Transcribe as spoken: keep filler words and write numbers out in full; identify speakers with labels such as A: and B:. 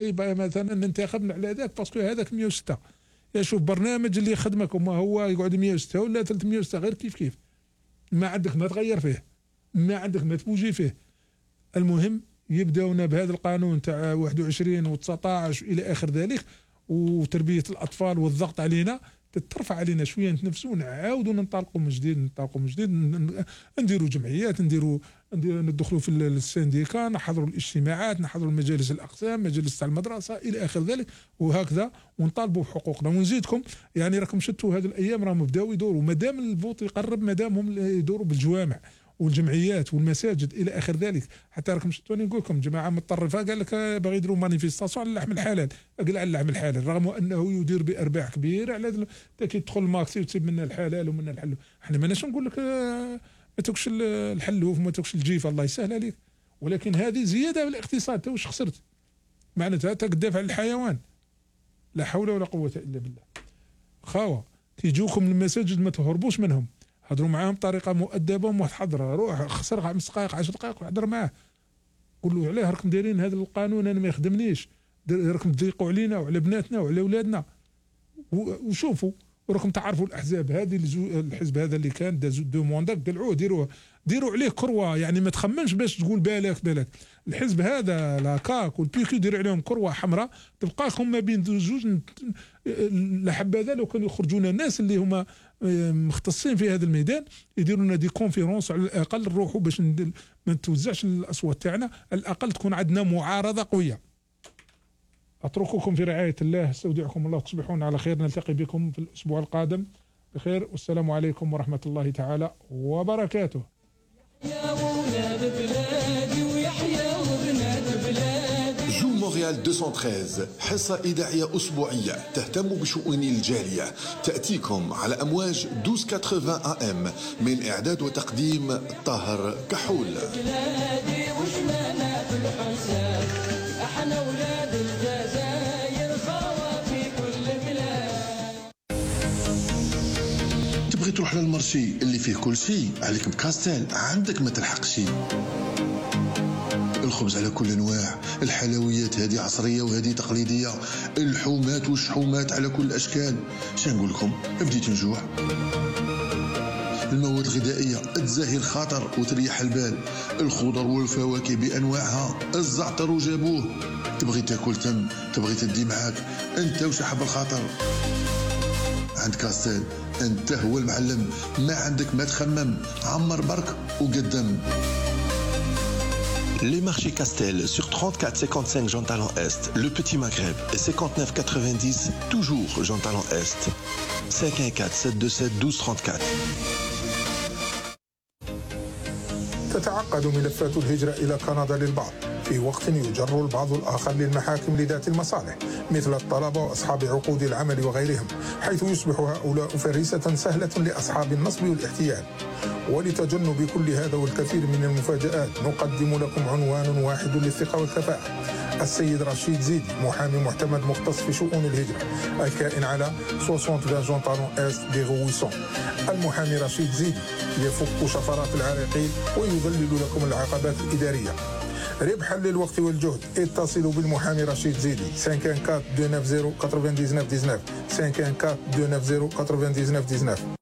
A: يبقى مثلا ننتخب على هذاك باسكو هذاك مية وستة. يا شوف برنامج اللي يخدمك وما هو يقعد مية وستة ولا ثلاثمية وستة غير كيف كيف، ما عندك ما تغير فيه، ما عندك ما تبوجي فيه. المهم يبداونا بهذا القانون تاع واحد وعشرين و تسعطاش الى اخر ذلك، وتربيه الاطفال والضغط علينا تترفع علينا شويه، نتنفسوا نعاودوا ننطلقوا من جديد ننطلقوا من جديد نديروا جمعيات، نديروا ندخلوا في السنديكا، نحضروا الاجتماعات، نحضروا مجالس الاقسام، مجالس تاع المدرسه الى اخر ذلك، وهكذا ونطالبوا بحقوقنا. ونزيدكم يعني راكم شفتوا هذه الايام راهم بداوا يدوروا، مادام الفوت يقرب مادام هم يدوروا بالجوامع والجمعيات والمساجد الى اخر ذلك. حتى راكم شفتوا نقول لكم جماعه متطرفه قال لك باغي يديروا مانيفيستاسيون على اللحم الحلال، قال على اللحم الحلال رغم انه يدير بارباح كبيره على كي تدخل ماكسي وتسيب منا الحلال ومنا الحلو. احنا ماناش نقول لك ما تاكلش الحلوف وما تاكلش الجيف الله يسهل عليك، ولكن هذه زياده في الاقتصاد. تو واش خسرت؟ معناتها تدافع عن الحيوان. لا حول ولا قوه الا بالله. خاوه تيجوكم المساجد ما تهربوش منهم، هضروا معاهم بطريقه مؤدبه ومتحضره، روح خسر خمس دقائق عشر دقائق وحضر معاه، قول له علاه راكم دايرين هذا القانون انا ما يخدمنيش، راكم تضيقوا علينا وعلى بناتنا وعلى اولادنا. وشوفوا وراكم تعرفوا الاحزاب هذه، الحزب هذا اللي كان دازو دو مونداك قلعوه ديروه ديروا عليه كروه، يعني ما تخمنش باش تقول بالك بالك. الحزب هذا لاكاك والبيكو ديروا عليهم كروه حمراء تبقاكم ما بين زوج. لحبذا لو كانوا يخرجونا الناس اللي هما مختصين في هذا الميدان يديروا لنا دي كونفيرونس على الاقل نروحوا باش ما نتوزعش الاصوات تاعنا، على الاقل تكون عندنا معارضه قويه. اترككم في رعايه الله، استودعكم الله، تصبحون على خير، نلتقي بكم في الاسبوع القادم بخير، والسلام عليكم ورحمه الله تعالى وبركاته.
B: يا ولاد بلادي ويحيى وبنات بلادي.
C: جو مونريال مئتين وثلاثة عشر حصة إذاعية أسبوعية تهتم بشؤون الجالية، تأتيكم على أمواج اثناشر ثمانين إيه إم من إعداد وتقديم طاهر كحول.
B: بلادي وشمالنا في الحساب، احنا ولاد الجزائر خاوة في كل بلاد.
C: تبغي تروح للمرشي اللي فيه كل شيء، عليك بكاستيل عندك ما تلحقش. الخبز على كل انواع، الحلويات هذه عصريه وهذه تقليديه، اللحومات والشحومات على كل الاشكال. شنو نقول لكم، بديت نجوع. المواد الغذائيه تزاهي الخاطر وتريح البال، الخضر والفواكه بانواعها، الزعتر وجابوه. تبغي تاكل تم، تبغي تدي معاك انت وشحب الخاطر. عند كاستيل انت هو المعلم، ما عندك ما تخمم، عمر برك وقدم.
D: Les marchés Castel sur trente-quatre cinquante-cinq Jean Talent Est, le Petit Maghreb et cinquante-neuf quatre-vingt-dix toujours Jean Talent Est. cinq un quatre sept deux sept douze trente-quatre.
E: تتعقد ملفات الهجرة إلى كندا للبعض في وقت يجر البعض الآخر للمحاكم لذات المصالح مثل الطلبة وأصحاب عقود العمل وغيرهم، حيث يصبح هؤلاء فريسة سهلة لأصحاب النصب والاحتيال. ولتجنب كل هذا والكثير من المفاجآت نقدم لكم عنوان واحد للثقة والكفاءة. السيد رشيد زيدي، محامي معتمد مختص في شؤون الهجرة، الكائن على ستين جون طالون إست دي غويسون. المحامي رشيد زيدي يفك شفرات العراقيل ويذلل لكم العقبات الإدارية. ربحا للوقت والجهد اتصلوا بالمحامي رشيد زيدي خمسة أربعة أربعة اثنين تسعة صفر تسعة تسعة تسعة خمسة أربعة أربعة اثنين تسعة صفر تسعة تسعة